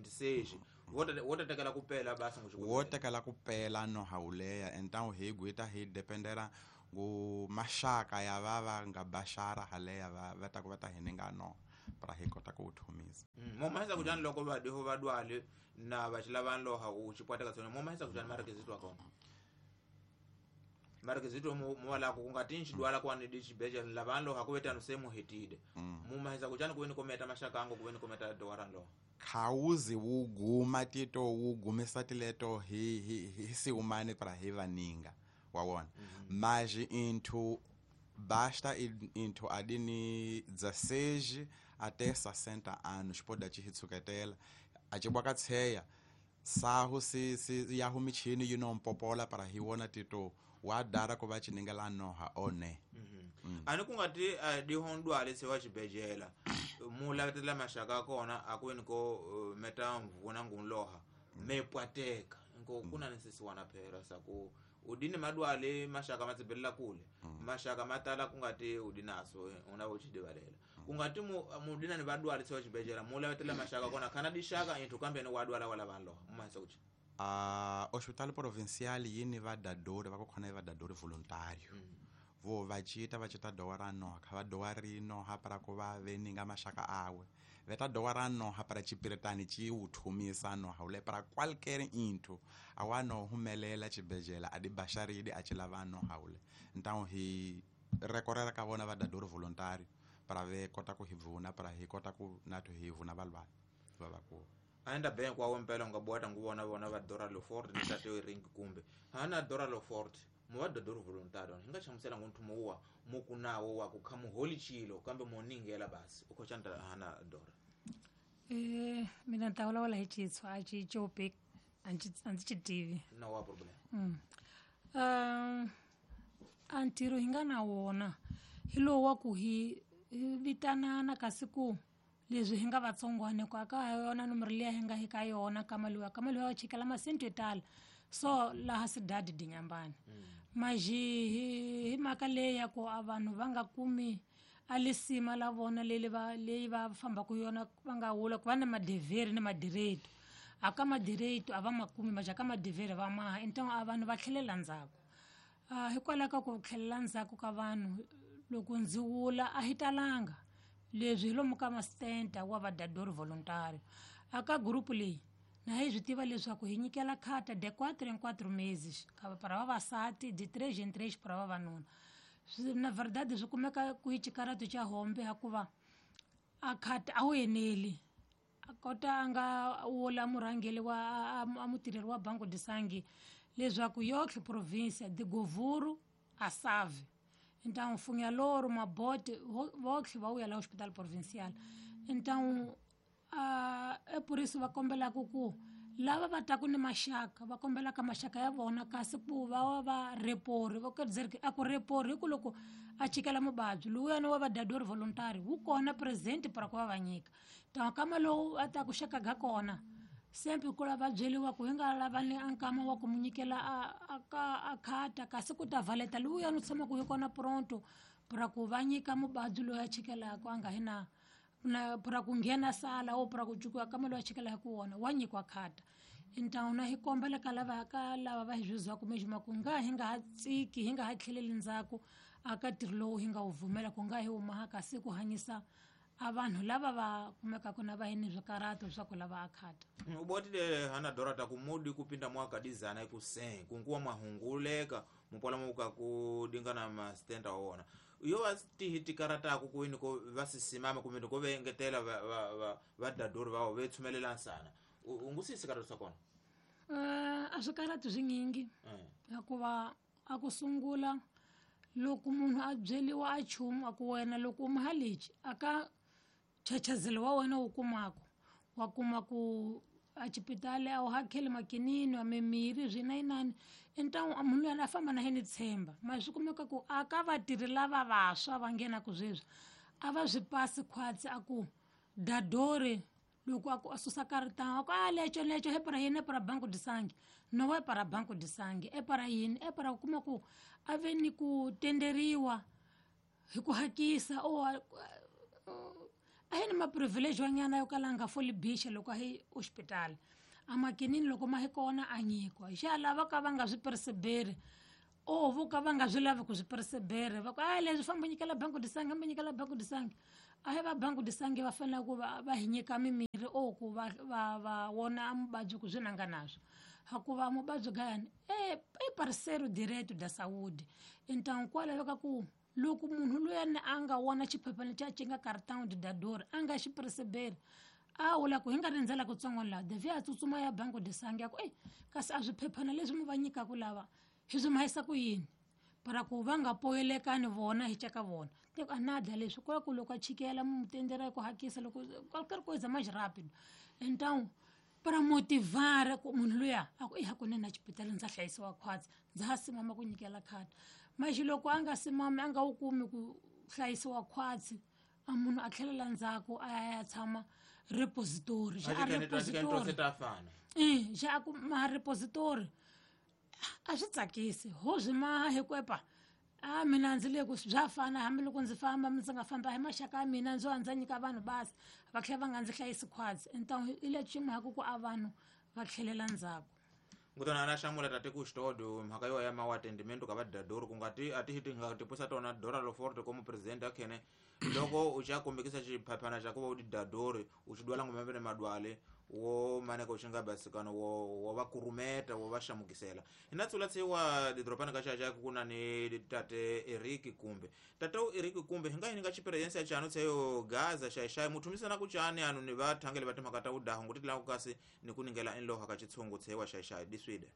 26 wo ta tekela ku pela basi ngo wo tekela ku pela no hauleya então hi guita hi dependera ngu maxaka ya va nga bashara haleya va ta ku va ta hininga no para hi kota ku thumisa. Mo mahisa kujani loko va diho va dwale na va xilava loha u xipwata ka tsona mo mahisa kujani marekezito akona marekezito mo wala ku nga tinchi dwala kwani di xibejela lava loha ku vetano se muhetide mo mahisa kujani ku weni kometa maxaka ango ku weni kometa dowara loha khawuzi wu guma tito wu gumisa tileto hi siumane para hi vaninga wa wona. Mas into basta into adini 16 até 60 anos pode te hitsuketela a tshibwaka tsheya sahu si ya humichini you mpopola para hi wona tito wa dara ko va chiningela noha one. Ani ku nga ti di hondwale se wa xibejela mu lavetela maxaka kona a ku weni ko meta mvuna ngunloha me pwateka nko kuna ni sisi wana phela saku udini madwale maxaka matsebelela kule maxaka matala ku nga ti udinaso una vo chidivalela ku nga ti mudina ni vadwale se wa xibejela mu lavetela maxaka kona khana dixaka inthu kambe ni wadwala wala vanhu loha mu mahisa ku Hospital provincial yini va dadori va khona va dadori voluntário. Vo va cita dowara no kha va dowari no ha para ku va veninga maxaka awe veta dowara no ha para chipiretani chi uthumisa no haule para qualquer inthu awano humelela chibejela adi basharidi a chilava no haule então hi recorrera ka vona va dadori voluntário para ve kota ku hi vuna para hi kota ku nathu hi vuna valwa va ku aenda bank wa mpela nga bwata nguvona vona va Dora Lofort ni tate ring kumbe hana Dora Lofort mo va dadori voluntário hinga chamusela ngonthumo wa mukunawo wa ku khamuholi chilo kambe moningela basi ukhochanda hana Dora. Mina ntawula wala hi chitswa a chi chope anzi chitivi no wa problem. Antiro hinga na wona hilo wa ku hi vitanana kasi ku leswi hi nga vatsongwane ku aka yona nomoro liya hi nga hi ka yona kamaliwa kamaliwa wa chikela masente yo tala so laha sidadi dinyambani maji hi mhaka leyi ya ku a vanhu va nga kumi a lisima la vona leyi va fambaka yona va nga wula ku va na madevheri ni madireto aka madireto a va makumi maji aka madevheri va maha então a vanhu va tlhelela ndzhaku. Hikwalaho ka ku tlhelela ndzhaku ka vanhu loko ndzi wula a hi talanga leswi hi lomu ka mastenta wa vadadori voluntário aka group leyi na hi swi tiva leswaku hi nyikela khata de 4 em 4 meses para vavasati de 3 em 3 para vavanuna. Na verdade swi kumeka ku hi xikarato xa hombe hikuva a khata a wu eneli a kota a nga wula murhangeli wa a mutirheri wa Banco de Sangue leswaku yotlhe province de Govuro a Save então Funhaloro Mabote votlhe va vuya la hospital provincial então é por isso va kombelaka ku lava va taku ni maxaka va kombelaka maxaka ya vona kasi ku va va repori va a ku repori hi ku loko a chikela muvabyi lowuyani wa vadadori voluntary wu kona present para ku va va nyika então kama lowu a ta ku xaka ga kona sempre ku lava byeliwa ku hi nga lava ni a nkama wa ku mu nyikela a khata kasi ku ta valeta lowuyani u tshamaka hi kona pronto para ku va nyika muvabyi loyi a chikelaka a nga hi na na para ku nghena sala o para ku cukiwa kama loyi a chikelaka wona wa nyikiwa khata. Então na hi kombela ka lava ka lava va hi zwizwaku mesmo ku nga hi nga ha tsiki hi nga ha tlheleli ndzhaku aka ntirho lowu hi nga wu vumela ku nga hi huma kasi ku hanyisa a vanhu lava va kumekaka na va yini swikarato swa ku lava akhata. U botile hana Dora ta ku mudi kupinda mwaka dizana ku sen kunkuwa mahunguleka mupola muka ku dingana ma stenda wona yo va tihi tikarata ku kwini ko va sisimama kumbe ko vengetela va dadori va ve tshumelela nsana u ngu sisi karata swa kona. A swikaratu swinyingi hikuva a ku sungula loko munhu a byeliwa a chumu a ku wena loko u muhalichi aka chachazelo wa wena wu kumaka wa kuma ku a xipitali a wu hakeli makinini a mimirhi swinayinani então munhu luyani a famba na yena tshemba ma swi kumeka ku aka vatirhi lava vantshwa va nghenaku sweswi a va swi pasi khwatsi a ku dadori loko a ku a susa karitanga a ku a lecho lecho he para yini e para Banco de Sangue no e para Banco de Sangue e para yini e para ku kuma ku a ve ni ku tenderiwa hi ku hakisa o A hi ni maprivilege wanyana yo kala a nga foli bicha loko a hi hospital. A makinini loko ma hi kona a nyikiwa. Xa lava ka va nga swi perseberi o vo ka va nga swi lavi ku swi persebere va ku a leswi famba nyikela banku disangi hamba nyikela banku disangi. A hi va banku disangi va fanele ku va hi nyika mimirhi o ku va wona muvabyi ku swi nanga naswo. Hakuva muvabyi gayani i parceiro direto da saúde. Então kwa laveka ku loko munhu luyani a nga wona xiphephana xa xi nga cartão de dador a nga xi perseberi a wula ku hi nga rindzela kutsongo laha devi a tsutsuma ya banku de sangi ya ku ei kasi a swiphephana leswi mi va nyikaku lava hi swi mahisa ku yini para ku va nga poyelekani vona hi caka vona te a na dla leswi kwa ku loko a chikela mu tendera ku hakisa loko qualquer coisa mais rápido. Então para motivar ku munhu luya a ku i hakunene a xibedhlele ndza hlayisiwa khwatsi ndza ha simama ku nyikela khadi. Maxi loko a nga simami a nga wu kumi ku hlayisiwa khwatsi a munhu a tlhelela ndzhaku a ya tshama repository xa a repository xa a ku ma repository a swi tsakisi ho swi maha hi ku epa a mina ndzi le ku bya fana hambiloko ndzi famba ndzi nga famba hi maxaka ya mina ndzo ndza nyika vanhu basi va tlhela va nga ndzi hlayisi khwatsi. Então hi le ximhaka ku a vanhu va tlhelela ndzhaku. Ngutana ana xamula tate ku xitodo mhaka yo ya mawatendimento ka vadadori ku nga ti a ti ti nga tipusa tona Dora Loforte como presidente akhene loko u xa kombekisa xiphaphana xa ku va u tidadori u xi dwala ngombe madwale wo maneka u xi nga basikano wo va kurumeta wo va xamukisela. Hina tsula tsiwa didropana ka xa ku na ni tate Eric Kumbe. Tate Eric Kumbe hi nga yini nga experience ya chano tseyo Gaza xaxai muthumisana ku chani anu ni va thangele va timhaka ta udaha nguti la ku kasi ni ku ningela enloha ka chitshungu tsewa xaxai diswide.